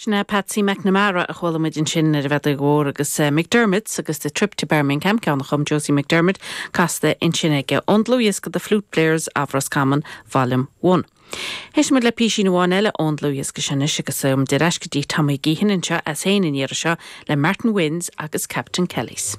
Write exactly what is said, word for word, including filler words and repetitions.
Sin é Patsy McNamara a chuala muid ansin ar an bhfeadóg mhór agus uh, McDermott agus the trip to Birmingham ceann a chum Josie McDermott casta ansin aige ón dlúthdhiosca the Flute Players of Roscommon Volume one. Éistfimid le píosa amháin eile ón dlúthdhiosca sin agus um, ar ais go dtí Tommy Geehan anseo as féin an iarraidh seo le Martin Wynns agus Captain Kellys.